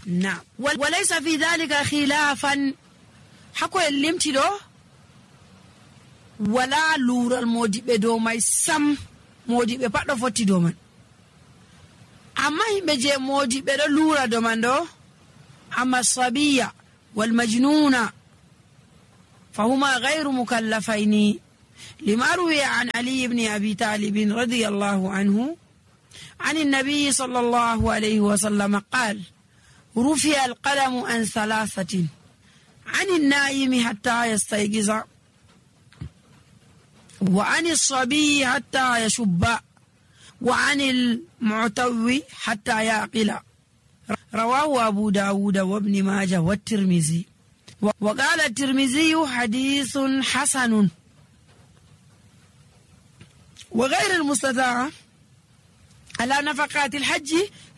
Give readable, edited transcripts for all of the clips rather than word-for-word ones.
na walaysa fi dhalika khilafan hako en limti ɗo wala lural modiɓe dow may sam. Modiɓe pat ɗo fotti dow man, amma himɓe je modiɓe ɗo lura dow man ɗo amma sabiya wal majnuna fahuma ghayru mukallafaini lima ruwiya an Ali ibn Abi Talib radiyallahu anhu عن النبي صلى الله عليه وسلم قال رفع القلم عن ثلاثة عن النائم حتى يستيقظ وعن الصبي حتى يشب وعن المعتوي حتى يعقل. رواه أبو داود وابن ماجه والترمذي. وقال الترمذي حديث حسن. وغير المستطاع على نفقات الحج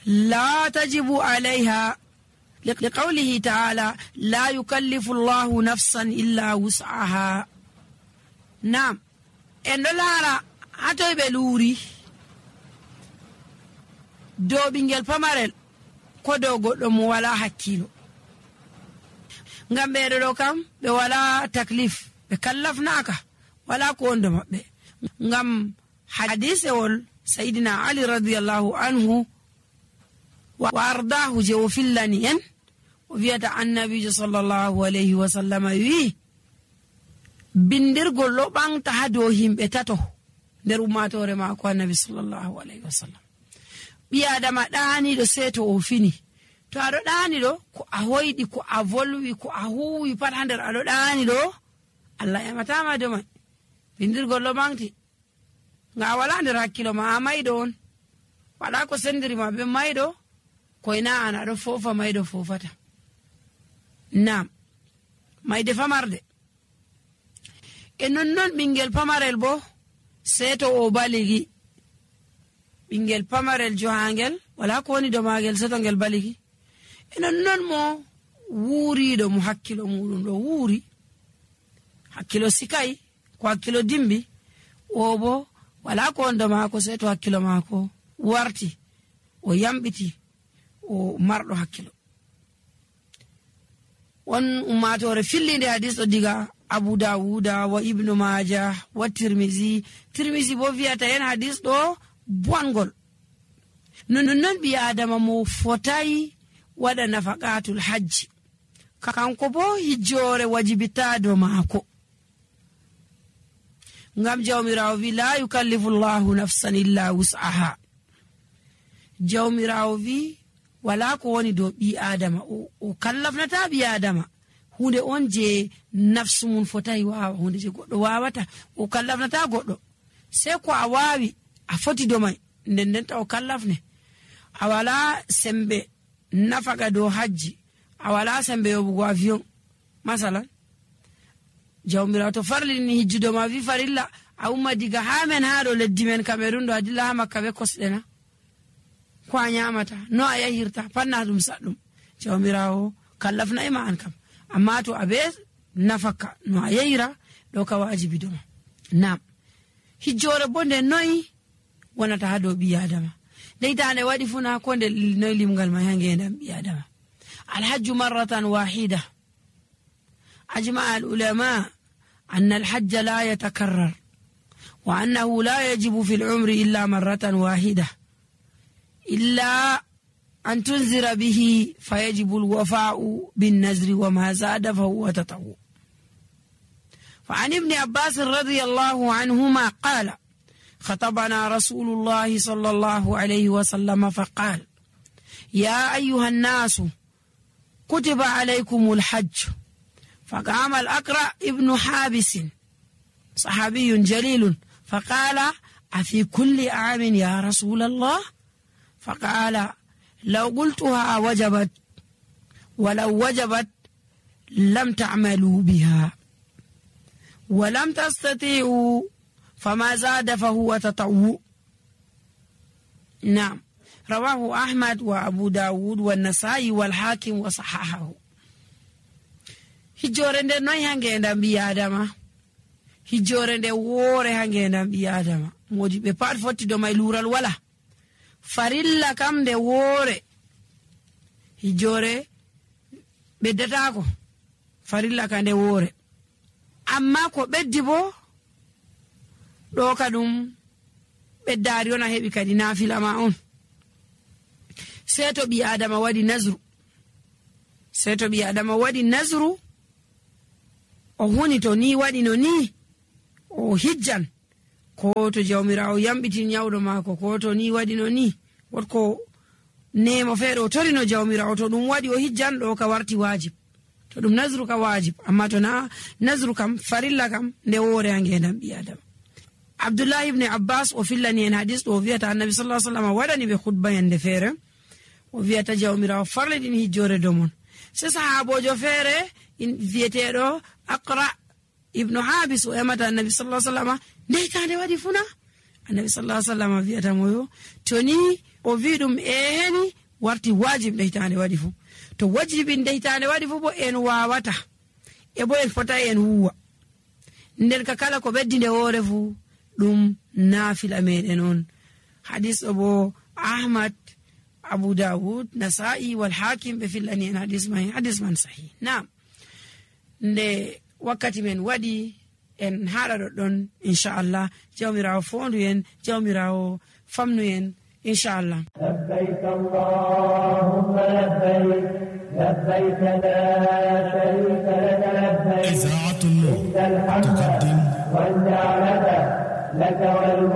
لا تجب عليها لقوله تعالى لا يكلف الله نفسا إلا وسعها. نعم en ɗo laara hatoy ɓe luuri dow ɓingel pamarel ko dow goɗɗo mo wala hakkilo, ngam ɓeɗo ɗo kam ɓe wala taklif, ɓe kallafnaaka, wala ko wondo maɓɓe. Ngam hadisewol sayidina Ali radiyallahu anhu wa ardahu je o fillani en o wiyata annabijo sallallahu alayhi wa sallam wi bindirgol ɗo ɓamta ha dow himɓe tato nder ummatore maako annabi sallallahu alayhi wa sallam. ɓi adama ɗaaniɗo sey to o fini, to aɗo ɗaaniɗo ko a hoyɗi, ko a volwi, ko a huwi pat ha nder aɗo ɗaaniɗo, Allah ematama do man. bindirgol ɗo ɓamti nga a wala nder hakkilo ma, a mayɗo on, waɗa ko sendiri ma ɓe mayɗo, koyna an aɗo fofa mayɗo fofata. Nam mayde famarde e nonnon ɓingel pamarel bo sey to o baligi. ɓingel pamarel johangel wala ko woni do magel seto ngel baligi. e nonnon mo wuuriɗo mo hakkilo muɗum ɗo wuuri, hakkilo sikay ko hakkilo dimbi, o bo wala ko wondo maako sey to hakkilo maako warti o yamɓiti o marɗo hakkilo. won ummatore fillinde hadis ɗo diga Abu Dawuda wa Ibnu Majah wa Tirmizi. Tirmizi bo wiyata en hadis ɗo bongol. non ɓi adama mo fotayi waɗa nafaqatul hajji, kanko bo hijjore wajibitado maako, ngam jawmirawo wi la yukallifu llahu nafsan illa wus'aha. jawmirawo wi wala ko woni dow ɓi adama o kallafnata ɓi adama hunde on je nafsu mun fotayi wawa, hunde je goɗɗo wawata o kallafnata goɗɗo. sei ko a wawi a foti do mai ndendenta o kallafne. a wala sembe nafaka dow hajji, a wala sembe yoɓugo avion masalan, jawmirawo to farlini hijjudo ma wi farilla a umma diga ha men ha ɗo leddi men Cameroon ɗo a dilla ha Makka be kosɗe na, ko a nyamata, no a yahirta, panna ɗum saɗɗum. jawmirawo kallafna ima an kam, amma to abe nafaka no a yahira ɗo ka wajibi doma. Nam hijjore bo nde noyi wonata ha dow ɓi adama. deytande waɗi funa ko nde noyi limgal ma ha ngendam ɓi adama. alhajju marratan wahida. أجمع العلماء أن الحج لا يتكرر، وأنه لا يجب في العمر إلا مرة واحدة إلا أن تنذر به فيجب الوفاء بالنذر وما زاد فهو تطوع. فعن ابن عباس رضي الله عنهما قال خطبنا رسول الله صلى الله عليه وسلم فقال يا أيها الناس كتب عليكم الحج. فقام الأقرع ابن حابس صحابي جليل فقال أفي كل عام يا رسول الله؟ فقال لو قلتها وجبت، ولو وجبت لم تعملوا بها، ولم تستطيعوا فما زاد فهو تطوع. نعم رواه أحمد وأبو داود والنسائي والحاكم وصححه. hijjore nde noy ha ngendam ɓi adama? hijjore nde woore ha ngendam ɓi adama. modi ɓe pat fotti do may lural wala. farilla kam nde woore hijjore ɓeddatako farilla ka nde woore. Amma ko ɓeddi bo ɗo ka ɗum ɓeddaari on a heɓi kadi naafila ma on. Sey to ɓi adama waɗi nasru, sey to ɓi adama waɗi nasru o huni to ni waɗi no ni o hijjan, ko to jawmirawo yamɓitin nyawɗo maako, ko to ni waɗi no ni wotko nemo feere o torino jawmirawo, to ɗum waɗi o hijjan ɗo ka warti wajib, to ɗum nasru ka wajib. Amma to na nasru kam farilla kam nde woore ha ngendam ɓi adama. Abdullah ibn Abbas o fillani en hadis ɗo o wiyata annabi sallallahu alaihi wasallam waɗani ɓe khutba yande feere o wiyata jawmirawo farliɗin hijjore domon. Se sahabojo feere wiyeteɗo Aqra ibnu Habis o emata annabi sallallahu alaihi wasallam ndeytande waɗi funa. Annabi sallallahu alaihi wasallam wiyata moyo to ni o wi ɗum heni warti wajib ndeytande waɗi fu, to wajibi ndeytande waɗi fu bo en wawata e bo en fota en huwa. Nden ka kala ko ɓeddi nde woore fu ɗum naafila meɗen on. Hadis ɗo bo Ahmad, Abu Dawud, Nasa'i wal Hakim ɓe fillani en hadis man sahih. Naam, nde wakkati men waɗi en haɗa ɗoɗɗon inchallah. Jawmirawo fondu en, jawmirawo famnu en inchallah. لبيك اللهم لبيك لبيك لا شريك لك لبيك إذاعة النور تقدم والنعمة لك والملك